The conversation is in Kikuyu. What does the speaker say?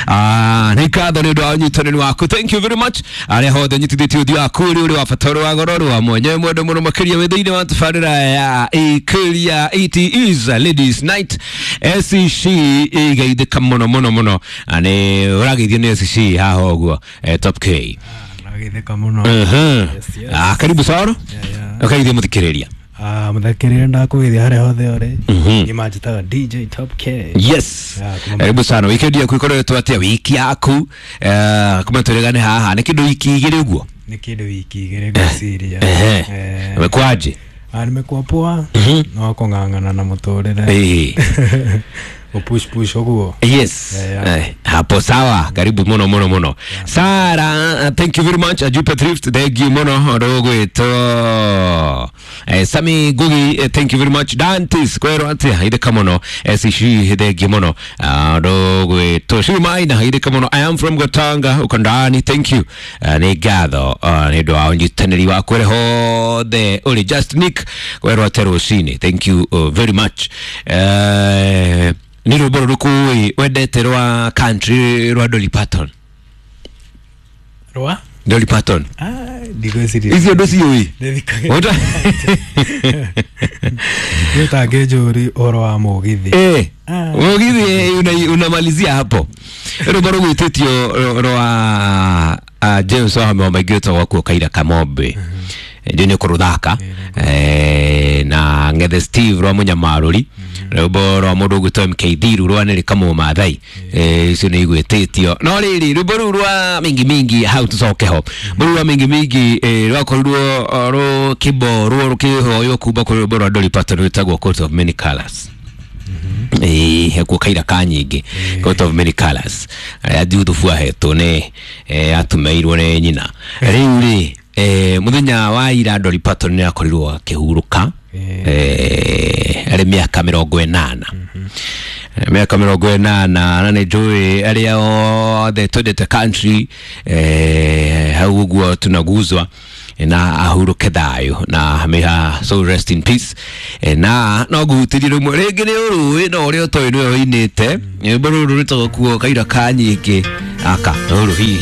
Nĩ ngatho nĩ ũndũ wa ũnyitanĩri waku, thank you very much. Arĩa hothe nyitithĩtie ũthiũ waku ũrĩ wa bata, ũrĩ wa goro, ũrĩ wa mwanya mwendo mũno makĩria wĩ thĩinĩ wa tabarĩra ya Ikuria. It is ladies night. SCC igeithĩka mũno mũno mũno. Nĩ ũrageithio nĩ SCC haha ũguo, Top K. Nagithĩka mũno. Yes. Karibu sana. Yeah. Ũkageithia mũthikĩrĩria. Mũthikĩrĩria, ndakũgeithia harĩa hothe ũrĩ. Niĩ manjĩtaga DJ Top K. Yes. Yeah, kuma- Karibu sana. Weekend yaku ikoretwo atia? Wiki yaku, kuma twĩrĩgane haha nĩ kĩndũ wiki 2 ũguo. Nĩ kĩndũ wiki 2 ngwĩciria. Ehe. Umekuaje? Nimekuwa poa, no kũng'ang'ana na mũtũrĩre. Gũpush push ũguo. Yes. Yeah. Hapo sawa. Karibu muno muno muno. Sara, thank you very much. Ajupe Thrift, thank you muno. Rogwito. Sami Gugi, thank you very much. Dantis, kwero atia, itheka muno. Sishi, thank you muno. Rogwito. Shumaina, itheka muno. I am from Gatanga, Ukandani, thank you. Nĩ ngatho nĩ ũndũ wa ũnyitanĩri waku ũrĩa hothe ũrĩ. Just Nick, kwero atia rũcinĩ. Thank you very much. Nĩ rwĩmbo rũrĩkũ wendete rwa country rwa Dolly Parton? Rwa? Dolly Parton. Ndigwĩciria. Icio ndũciũĩ? Ndĩthikagĩrĩria. Ũta- Nĩ ũtangĩnjũri ũhoro wa mũgithi. Mũgithi unamalizia hapo. Rwĩmbo rũgwĩtĩtio rwa James Wahome wa maingĩ wĩtagwo kuo Kaira Kamombe, ndio nĩ kũrũthaka, na Ng'ethe Steve rwa Mũnyamarũri, rwĩmbo rwa mũndũ ũgwĩtwo MK Thiru rwa Nĩrĩ Kamũ Maathai. Icio nĩ igwĩtĩtio, no rĩrĩ, rwĩmbo rũu rwa Mingi Mingi hau tũcoke ho, rwĩmbo rũu rwa Mingi Mingi, rwakorirwo rũkĩmborwo rũkĩhoywo kuma kũrĩ rwĩmbo rwa Dolly Parton rwĩtagwo Coat of Many Colours. Hekuo kaira ka nyingĩ, Coat of Many Colours, arĩa Juthubu ahetwo nĩ atumeirwo nĩ nyina. Rĩu rĩ, mũthenya wa ira Dolly Parton nĩ akorirwo akĩhurũka, arĩ mĩaka 80, mĩaka 80. Na nĩ njũĩ arĩa othe twendete country, hau ũguo tunaguzwa na ahurũke thayũ na may her soul rest in peace. Na no nguhutĩrie rĩmwe rĩngĩ nĩ ũrũĩ no ũrĩa ũtoĩ nĩwe ũinĩte rwĩmbo rũrũ rwĩtagwo kuo Kaira ka nyingĩ aka rũrũ hihi.